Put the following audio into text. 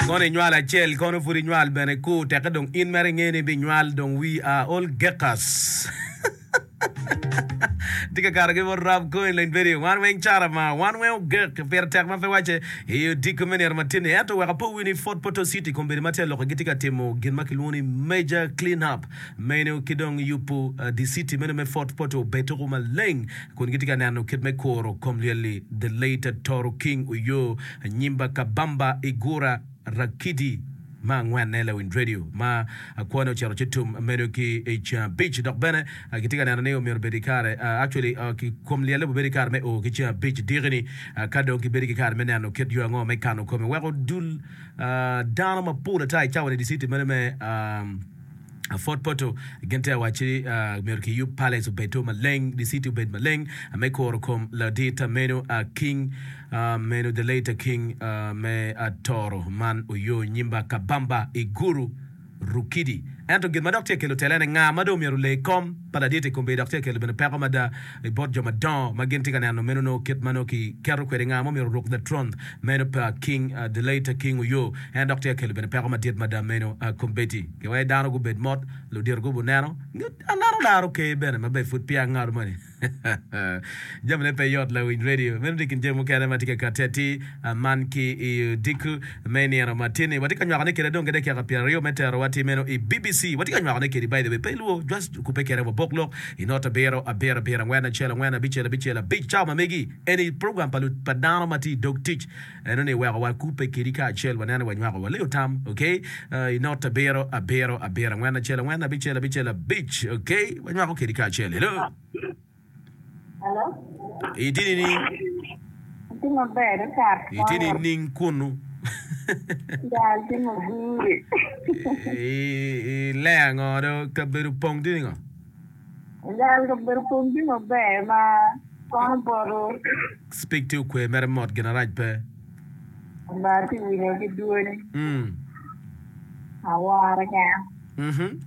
Kono inywal acel, kono pud inywal bene kur, tekke dong in mere inge ni ibinywal dong wi a ol gekas. Tye ka kato ki bot Rab Cohen Lony Video. Wan weng cara ma wan weng ogek pire tek ma pe wacce i odiko me nino matin-ni. Ento wek apo wi ni Fort Portal City kombeddi ma tye aloka gitye ka timo gin ma kilwongo ni major clean up meno ki dong yubo di city meno me Fort Portal obed tuko maleng kun gitye ka neno kit me kuro kom lyel-li The late Toro King Oyo Nyimba Kabamba Igura Rakidi me angwenne lawiny radio ma kwone ocito ci tum meno ki i ceng abic dok bene gitye ka neno ni omyero obed ki kare actually kom lyelle obedo ki kare me o ki ceng abic diki-ni ka dong gibedo ki kare me neno kit yo ango me kano kome weko dul dano mapol ata i cawa ni diciti meno me Fort Portal gin tye ka wacci myero kiyub palace obed to maleng, the city obed maleng me kuro kom ladit meno King meno the late King me Toro man Oyo Nyimba Kabamba Iguru Rukidi. Ento gin ma dok tye ka kelo tele ene nga ma dong myero ole kom pa ladit i kombeddi dok tye ka kelo bene peko mada i bot jo madongo ma gin tye ka neno meno nongo kit ma nongo ki keto kwede nga ma myero oruk the throne meno pa King the late King Oyo en dok tye ka kelo bene peko madit mada meno kombeddi. Giweko dano gubed mot, ludito gubuneno, alaro laro ker bene maber pud peya angado moni. Jamine pe yot lawiny radio. Meno tye i kin jami mukene ma tye ka kati atir man ki i odiko me nino ma tye-ni. Watye ka nywakone kwede dong ki dakika pyeraryo me terowa atir meno i BBC. Watye ka nywakone kwedi by the way. Pe ilwor, just kubbe kwede wabok lok i not abiro, abiro, abiro, angwen, acel, angwen, abicel, abicel, abic. Cawa ma megi eni program pa dano ma tye i dog tic. Eno ni weko wakubbe kedi kacel waneno wanywako waliyo tam ok i not abiro abiro abiro angwen acel angwen abicel abicel abic ok wanywako kedi kacel hello Hello. Itye nining? Atye maber ata. Itye nining kunu? Ya atye maber. I le ango do kabedo pong tye ningo? Gal kabedo pong tye maber ma kono poto. Speak tye okwe mere mot gin arac pe. Ma atye winyo ki dwoni. Aworo keken.